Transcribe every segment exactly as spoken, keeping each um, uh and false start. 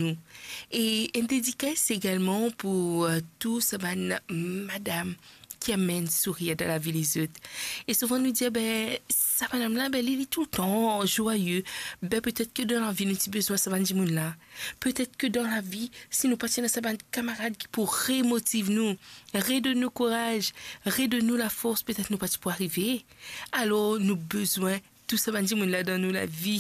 nou. E enn dedikas egalman pou, eh, tou sa bann madam ki amenn sourir dan lavi lezot. E souvan nou dir, be, sa madam la, be, li, li toultan zwaye. Be, petet ke dan lavi, nou ti bizin sa bann dimoun la. Petet ke dan lavi, si nou pa ti ena sa bann kamarad ki pou remotiv nou, redonn nou kouraz, redonn nou lafors, petet nou pa ti pou arive. Alor, nou bizin tou sa bann dimoun la dan nou lavi.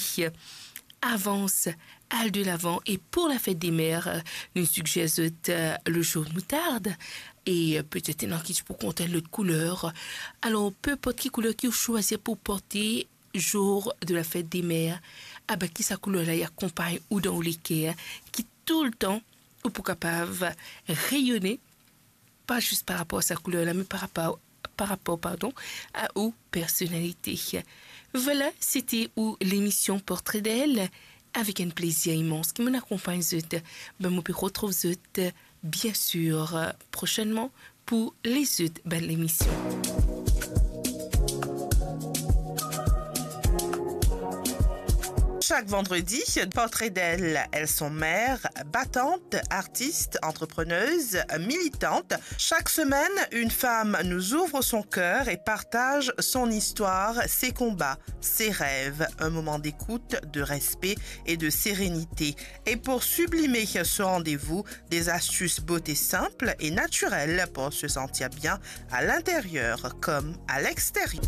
Avans, al de lavan, e pou lafet de mer, nou sigzer zot, eh, le jour moutarde, e, eh, petet ena ki ti pou kontan lot kouler. Alor, pe inport ki kouler ki ou swazir pou porte jour de lafet de mer, aba ki sa kouler la, li akonpagn ou dan ou leker, ki toultan ou pou kapav reyone, pa zis par rapor sa kouler la, me par rapor, par rapor, pardon, a ou personalite. Vwala, sete ou lemision Portrait d'elle, avek enn plezir imans ki mo'nn akonpagn zot. Be, mo pe retrouv zot, bien sir, prosennman pou lezot bann lemision. Chaque vendredi, Portrait d'elle, elles sont mères, battantes, artistes, entrepreneuses, militantes. Chaque semaine, une femme nous ouvre son cœur et partage son histoire, ses combats, ses rêves. Un moment d'écoute, de respect et de sérénité. Et pour sublimer ce rendez-vous, des astuces beauté simples et naturelles pour se sentir bien à l'intérieur comme à l'extérieur.